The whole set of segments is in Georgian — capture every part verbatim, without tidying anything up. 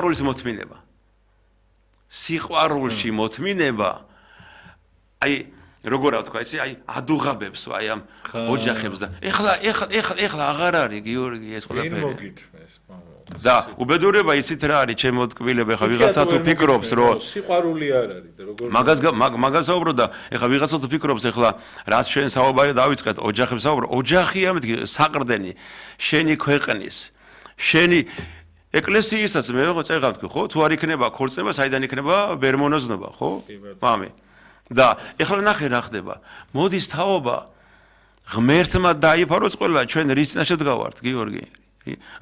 სიყვარულის მოთმინება. სიყვარულში მოთმინება აი როგორ ვთქვა იცი აი ადუღაბებს აი ამ ოჯახებს და ეხლა ეხლა ეხლა ეხლა აღარ არის გიორგი ეს ყველაფერი და უბედურება იცით რა არის ჩემო ტკბილება ეხლა ვიღაცა თუ ფიქრობს რომ სიყვარული არ არის და როგორ მაგას მაგას საუბრობ და ეხლა ვიღაცა თუ ფიქრობს ეხლა რაც ჩვენ საუბარი დავიწყეთ ოჯახებს საუბრო ოჯახია მეთქი საყრდენი შენი ქვეყნის შენი ეკლესიისაც მე ვეღარ ვთქვი ხო თუ არ იქნება ქორწინება საიდან იქნება ბერმონოზნობა ხო მამი და ეხლა ნახე რა ხდება მოდის თაობა ღმერთმა დაიფაროს ყველა ჩვენ რის წინაშე ვდგავართ გიორგი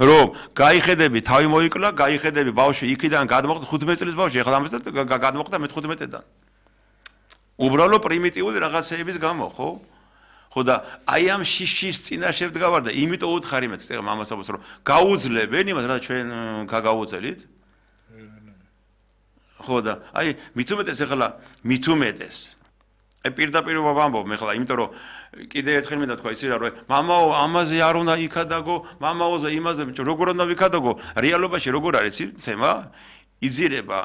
რომ გაიხედები თავი მოიკლა გაიხედები ბავშვი იქიდან გადმოხდა ხუთმეტი წლის ბავშვი ეხლა ამას და გადმოხდა მეთერთმეტიდან უბრალო პრიმიტიული რაღაცეების გამო ხო ხო და აი ამ შიშის წინაშე ვდგავარ და იმიტომ უთხარი მეც ეხლა მამას აბოს რომ გაუძლებენ იმას რა ჩვენ გაგაუძელით ხო და აი მით უმეტეს ეხლა მით უმეტეს აი პირდაპირ ვამბობ მე ხლა იმიტომ რომ კიდე ერთხელ მინდა თქვა იცი რა რომ მამაო ამაზე არ უნდა იქადაგო მამაოზე იმაზე როგორ უნდა ვიქადაგო რეალობაში როგორ არის იცი თემა იძირება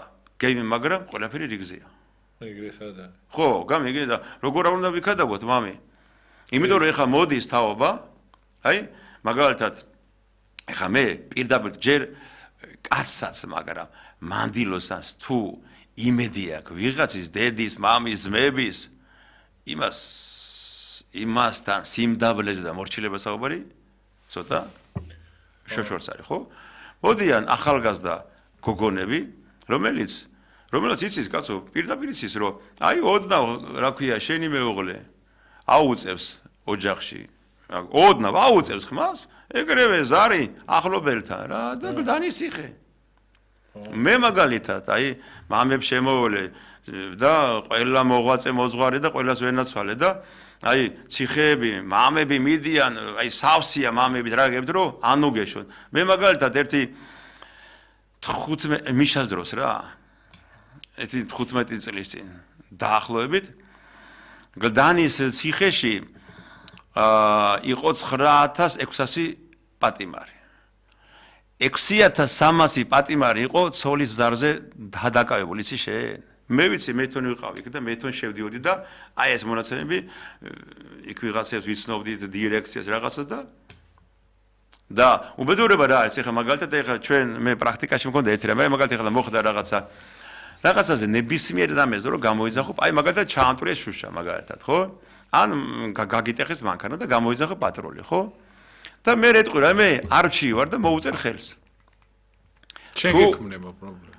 გეიმი მაგრამ ყველაფერი რიგზეა ეგრე სადა ხო გამიგე და როგორ უნდა ვიქადაგოთ მამი იმიტომ რომ ეხლა მოდის თაობა აი მაგალითად ეხლა მე პირდაპირ ჯერ კაცსაც მაგრამ მანდილოსაც თუ იმედი აქვს ვიღაცის დედის მამის ძმების იმას იმასთან სიმდაბლეზე და მორჩილებას საუბარი ცოტა შოშორს არის ხო მოდიან ახალგაზრდა გოგონები რომელიც რომელიც იცის კაცო პირდაპირ იცის რომ აი ოდნავ რა ქვია შენი მეუღლე აუწევს ოჯახში ოდნავ აუწევს ხმას ეგრევე ზარი ახლობელთან რა და დანისიხე მე მაგალითად აი მამებს შემოვლე და ყველა მოღვაწე მოძღვარი და ყველას ვენაცვალე და აი ციხეები მამები მიდიან აი სავსეა მამები დრაგებთ რომ ანუგეშონ მე მაგალითად ერთი თხუთმეტი მიშას დროს რა ერთი თხუთმეტი წლის წინ დაახლოებით გლდანის ციხეში აა იყო ცხრა ათას ექვსასი პატიმარი ექვსი ათას სამასი პატიმარი იყო ცოლის ზარზე დადაკავებული ისი შენ მე ვიცი მე თვითონ ვიყავი და მე თვითონ შევდიოდი და აი ეს მონაცემები იქ ვიღაცებს ვიცნობდით დირექციას რაღაცას და და უბედურება რა არის ეხლა მაგალითად ეხლა ჩვენ მე პრაქტიკაში მქონდა ერთი რამე მაგალითად ეხლა მოხდა რაღაცა რაღაცაზე ნებისმიერ რამეზე რომ გამოიძახო აი მაგალითად ჩაამტვრიეს შუშა მაგალითად ხო ან გაგიტეხეს მანქანა და გამოიძახო პატრული ხო და მე რეტყვი რა მე არჩი ვარ და მოუწერ ხელს შენ გექმნება პრობლემა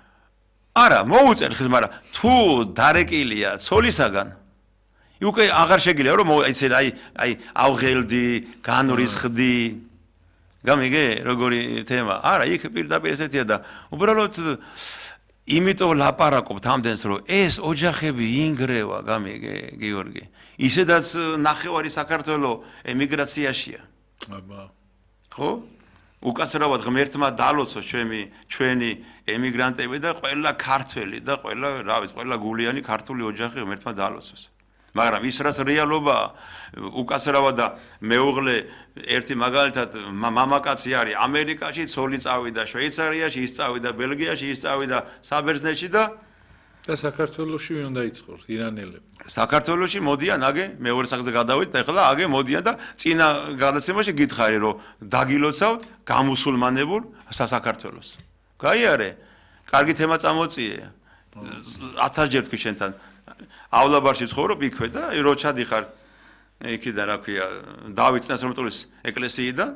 არა მოუწერ ხელს მაგრამ თუ დარეკილია ცოლისაგან უკვე აღარ შეგიძლია რომ ისე აი აი ავღელდი განვრისხდი გამიგე როგორი თემა არა იქ პირდაპირ ესეთია და უბრალოდ იმიტომ ლაპარაკობთ ამდენს რომ ეს ოჯახები ინგრევა გამიგე გიორგი ისედაც ნახევარი საქართველოს ემიგრაციაშია აბა ხო უკაცრავად ღმერთმა დალოცოს ჩვენი ჩვენი ემიგრანტები და ყველა ქართველი და ყველა რა ვიცი ყველა გულიანი ქართული ოჯახი ღმერთმა დალოცოს მაგრამ ის რაც რეალობა უკაცრავად და მეუღლე ერთი მაგალითად მამაკაცი არის ამერიკაში ცოლი წავიდა შვეიცარიაში ის წავიდა ბელგიაში ის წავიდა საბერძნეთში და და საქართველოში ვინ უნდა იწყოს ირანელები საქართველოში მოდიან აგე მეორე სახზე გადავიდეთ და ეხლა აგე მოდიან და წინა გადაცემაში გითხარი რომ დაგილოცავთ გამუსულმანებულ საქართველოს გაიარე კარგი თემა წამოწიე ათასჯერ თქვი შენთანავლაბარში ცხოვრობ იქვე და რო ჩადიხარ იქიდან რა ქვია დავით წინასწარმეტყველის ეკლესიიდან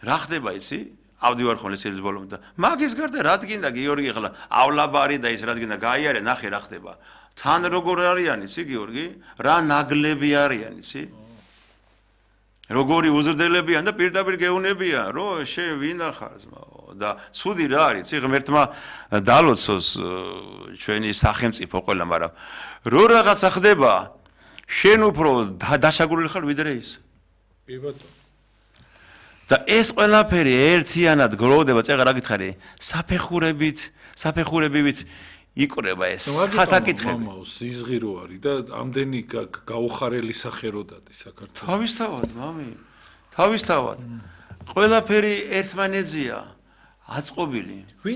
რა ხდება იცი ავდივარ ხოლმე სილის ბოლომდე და მაგის გარდა რა დგინდა გიორგი ახლაავლაბარი და ის რა დგინდა გაიარე ნახე რა ხდება თან როგორ არიან იცი გიორგი რა ნაგლები არიან იცი როგორი უზრდებიან და პირდაპირ გეუნებიან რომ შენ ვინ ახარ ზმაო და ცუდი რა არის იცი ღმერთმა დალოცოს ჩვენი სახელმწიფო ყველა მაგრამ რო რაღაცა ხდება შენ უფრო დაშაგული ხარ ვიდრე ის კი ბატონო და ეს ყველაფერი ერთიანად გროვდება წეგა რა გითხარი საფეხურებით საფეხურებით იკრება ეს ხასაკითხები მამაო სიზღი რო არის და ამდენი გაუხარელი სახერო დადი საქართველოს თავისთავად მამი თავისთავად ყველაფერი ერთმანეთზეა აწყობილი. ვინ